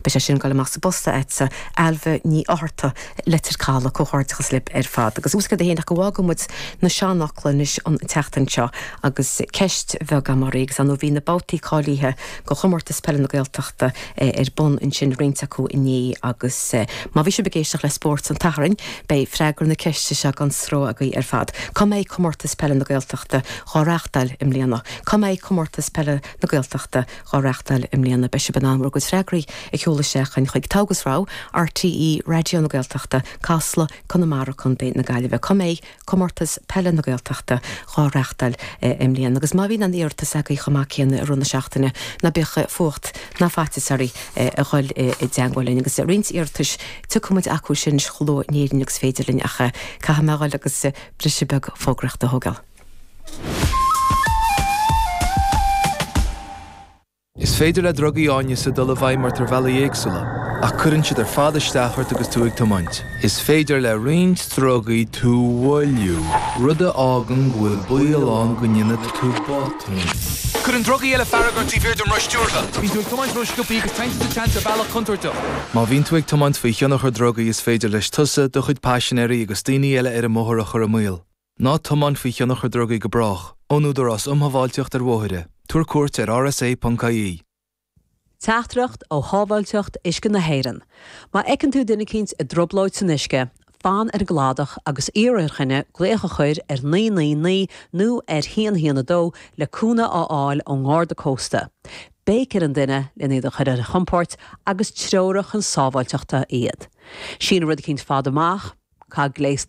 Beidh sé sin ag dul amach sa bpost a'dsa, Ailbhe Ní Fhátharta, Leitir Caladh. Comhghairdeachas libh ar fad. Agus ós rud é féin ach go bhfágfaidh muid na seanfhocla anois an tseachtain seo agus ceist bheag agam oraibh agus ar ndóigh bhí na babhtaí cáilithe go Chomórtas Peile na Gaeltachta ar bun ansin roinnt acu inné agus má bhí sibh ag éisteacht le Spórt an tSathairn beidh freagra na ceiste seo gan stró agaibh ar fad. Cá mbeidh Comórtas Peile na Gaeltachta dhá reáchtáil i mbliana? Cá mbeidh Comórtas Peile na Gaeltachta dhá reáchtáil i mbliana? Beidh sibh in ann bhur gcuid freagraí a sheoladh isteach chugainn chuig Togha agus Rogha, RTÉ Raidió na Gaeltachta, Casla, Conamara, Co. na Gaillimhe. Cá mbeidh Comórtas Peile na Gaeltachta dhá reáchtáil i mbliana? Agus má bhíonn aon iarratas agaibh chomh maith céanna i rith na seachtaine, ná bíodh fuacht ná faitíos oraibh a dhul i dteangmháil linn. Agus roinnt iarratais, tiocfaidh muid acu sin chomh luath in Éirinn agus féidir linn ach caithfidh mé a dhul agus briseadh beag fógraíochta a thógáil. Is féidir le drugaí áineasa dul i bhfeidhm ort ar bhealaí éagsúla, ach cuireann siad ar fad isteach ort agus tú ag tiomáint. Is féidir le roinnt drugaí tú a mhoilliú, rud a fhágann go bhfuil baol ann go ndéanfaidh tú botún. Cuireann drugaí eile fearg ort taobh thiar den roth stiúrtha. Bíonn tú ag tiomáint ró-sciobtha agus téann tú sa tseans ar bhealach contúirteach. Má bhíonn tú ag tiomáint faoi thionchar drugaí is féidir leis tusa, do chuid paisinéirí agus daoine eile ar an mbóthar a chur i mbaol. Ná tiomáin faoi thionchar drugaí go brách. Ón Údarás um Shábháilteacht ar Bhóithre, tabhair cuairt ar rsa.ie. Teachtaireacht ó Shábháilteacht Uisce na hÉireann. Má fheiceann tú duine eicínt i dtrioblóid san uisce, fan ar an gcladach agus iarr ar dhuine glaoch a chur ar 999 nó ar 112 le cúnamh a fháil ón nGarda Cósta. Béic ar an duine len iad a chur ar a gcompord agus treoraigh chun sábháilteachta iad. Síneadh rud eicínt fada amach, caith gléas.